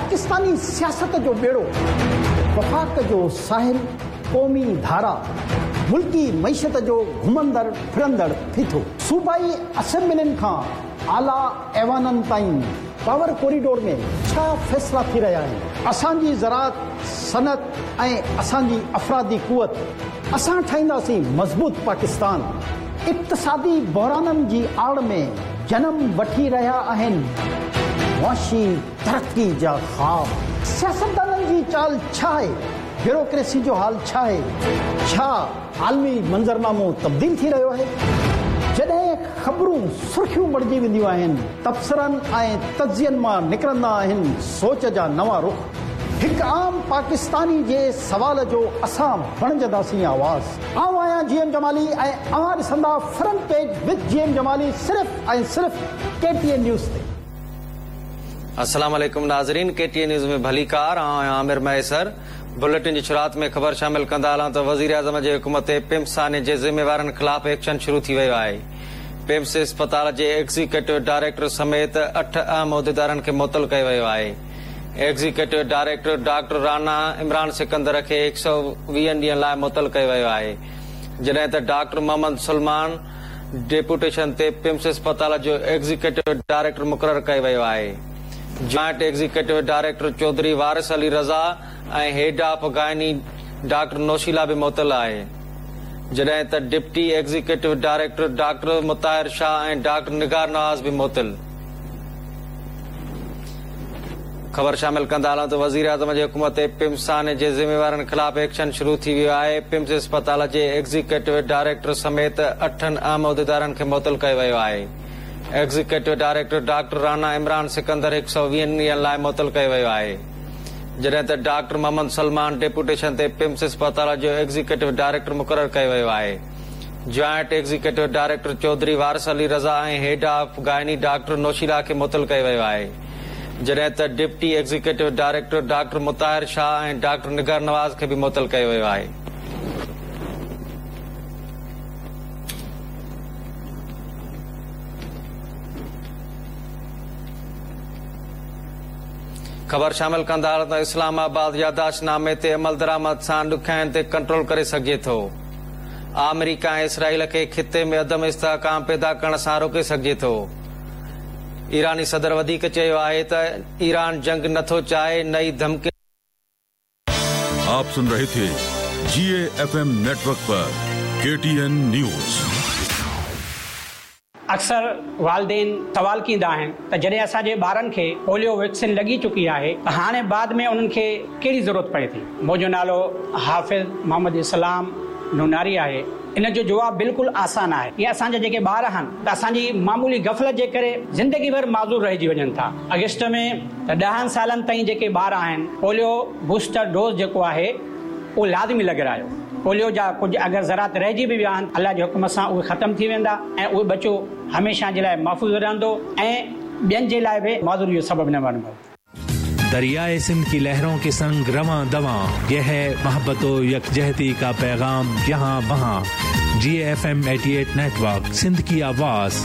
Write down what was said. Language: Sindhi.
پاڪستاني سياست جو ٻيڙو، وفاق جو ساحل، قومي ڌارا، ملڪي معيشت جو گهمندڙ ڦرندڙ ڦيٿو، صوبائي اسيمبلين کان اعليٰ ايوانن تائين پاور ڪوريڊور ۾ ڇا فيصلا ٿي رهيا آهن؟ اسان جي زراعت، صنعت ۽ اسان جي افرادي قوت، اسان ٺاهينداسين مضبوط پاڪستان. اقتصادي بحرانن جي آڙ ۾ جنم وٺي رهيا آهن معاشي ترقي جا خواب. سياستدانن جي چال ڇا آهي؟ بيوروڪريسي جو حال ڇا آهي؟ ڇا عالمي منظرنامو تبديل ٿي رهيو آهي؟ جڏهن خبرون سرخيون بڻجي وينديون آهن، تبصرن ۽ تجزين مان نڪرندا آهن سوچ جا نوان رخ. هڪ عام پاڪستاني جي سوال جو اسان بڻجنداسين آواز. آئون آهيان جي ايم جمالي ۽ اوهان ڏسندا front page with G M Jamali صرف ۽ صرف ڪي ٽي اين نيوز تي. السلام عليڪم ناظرين ڪي ٽي اين نيوز ۾ ڀليڪار آئون آهيان عامر مهيسر بليٽن جي شروعات ۾ خبر شامل ڪندا هلان ته وزيراعظم جي حڪم تي پمز سانحي جي ذميوارن خلاف ايڪشن شروع ٿي ويو آهي پمز اسپتال جي ايگزيڪيوٽو ڊائريڪٽر سميت اٺ اهم عهديدارن کي معطل ڪيو ويو آهي executive director doctor Rana Imran Sikandar کي هڪ سؤ ويهن ڏينهن لاء معطل ڪيو ويو آهي جڏهن ته ڊاڪٽر محمد سلمان ڊيپوٽيشن تي پمز اسپتال جو ايگزيڪيوٽو ڊائريڪٽر مقرر ڪيو ويو آهي. Joint executive director Chaudhry Waris Ali Raza ۽ head of gynae doctor Noshila به معطل آهي. جڏهن ته deputy executive director doctor Mutahir Shah ۽ doctor Nigar Nawaz به معطل. خبر شامل ڪندا هلون ته وزيراعظم جي حڪم تي پمز سانحي جي ذميوارن خلاف ايڪشن شروع ٿي ويو آهي، پمز اسپتال جي ايگزيڪيوٽو ڊائريڪٽر سميت اٺن اهم عهديدارن کي معطل ڪيو ويو آهي. Executive director doctor Rana Imran Sikandar هڪ سؤ ويهن ڏينهن لاء معطل ڪيو ويو آهي، جڏهن ته ڊاڪٽر محمد سلمان ڊيپوٽيشن تي پمز اسپتال جو ايگزيڪيوٽو ڊائريڪٽر مقرر ڪيو ويو آهي. Joint executive director Chaudhry Waris Ali Raza ۽ head of gynae doctor Noshila کي معطل ڪيو ويو آهي، جڏهن ته deputy executive director doctor Mutahir Shah ۽ doctor Nigar Nawaz کي به معطل ڪيو ويو آهي. خبر شامل ڪندا هلون ته اسلام آباد يادداشت نامي تي عملدرآمد سان ڏکيائين تي ڪنٽرول ڪري سگهجي ٿو. آمريڪا ۽ اسرائيل کي خطي ۾ عدم استحڪام پيدا ڪرڻ سان روڪي سگهجي ٿو. ايراني صدر وڌيڪ چيو آهي ته ايران جنگ نه ٿو چاهي نه ئي ڌمڪين. آپ سن رهي ٿي جي اي ايف ايم نيٽ ورڪ پر ڪي ٽي اين نيوز. اڪثر والدين سوال ڪيندا آهن ته جڏهن اسان جي ٻارن کي پوليو ويڪسين لڳي چڪي آهي ته هاڻي بعد ۾ انهن کي ڪهڙي ضرورت پئي ٿي؟ منهنجو نالو حافظ محمد اسلام نوناري آهي. ان جو جواب بلڪل آسان آهي. اهي اسان جا جيڪي ٻار آهن ته اسان جي معمولي غفلت جي ڪري زندگي ڀر معذور رهجي وڃن ٿا. آگسٽ ۾ ته ڏهن سالن تائين جيڪي ٻار آهن پوليو بوسٽر ڊوز جيڪو آهي اهو لازمي لڳرايو. پوليو جا ڪجهه اگر ذرات رهجي به ويا آهن الله جي حڪم سان اهي ختم ٿي ويندا ۽ اهو ٻچو هميشه جي لاء محفوظ رهندو ۽ ٻين جي لاء به معذوري جو سبب نه بڻبو. درياء سنڌ ڪي لهرون ڪي سنگ روان دوان يه هي محبت و يڪجهتي ڪا پيغام يهان وهان جي F M 88 network Sindh ڪي آواز.